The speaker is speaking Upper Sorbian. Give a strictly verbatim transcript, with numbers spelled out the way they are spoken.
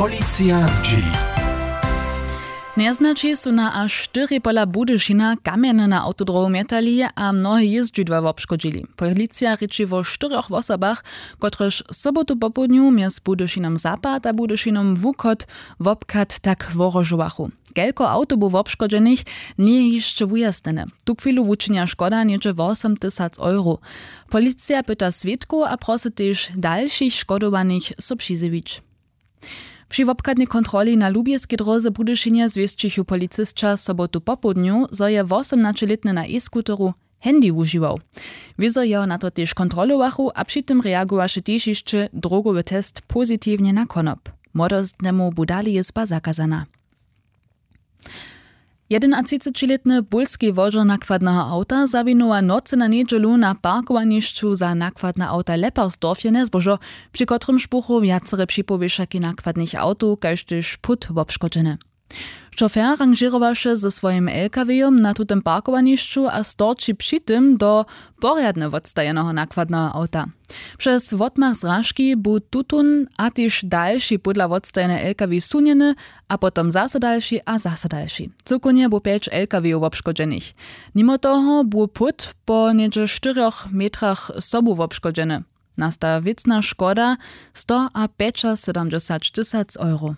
Policija zdźěli. Njeznaći su na až štyri pola Budyšina kamjeny na awtodrowu mjetali a mnohe jězdźidła wobškodźili. Policija rěči wo štyrjoch wosobach, kotrež sobotu popołdnju mjez Budyšinom Zapad a Budyšinom Wuchod wobchad tak wohrožowachu. Kelko awtow bu wobškodźenych, njeje hišće wujasnjene. Tuchwilu wučinja škoda něhdźe wosom tysac euro. Policija pyta swědkow a prosy tež dalšich škodowanych so přizjewić. Při wobchadnej kontroli na lubjeskej dróze w Budyšinje zwěsćichu policysća sobotu popołdnju, zo je wosomnaćelětny na e-skuteru handy wužiwał. Wězo jeho na to tež kontrolowachu a při tym reagowaše tež hišće drogowy test pozitiwnje na konop. Młodostnemu bu dale jězba zakazana. Jedenatřicećilětny w pólskej wodźer nakładneho awta zawinuje w nocy na njedźelu na parkowanišću za nakładne awta w Leppersdorfje njezbožo, při kotrymž buchu wjacere připowěšaki nakładnych awtow kaž tež płót wobškodźene. Šofer ranžěrowaše ze swojim L K W-jom na tutym parkowanišću a storči při tym do porjadnje wotstajeneho nakładneho awta. Přez wotmach zražki bu tutón a tež dalši pódla wotstajenej L K W sunjeny a potom zaso dalši a zaso dalši. Cyłkownje bu pjeć L K W-jow wobškodźenych. Nimo toho bu płót po něhdźe štyrjoch metrach sobu wobškodźeny. Nasta wěcna škoda sto a pjećasydomdźesać tysac euro.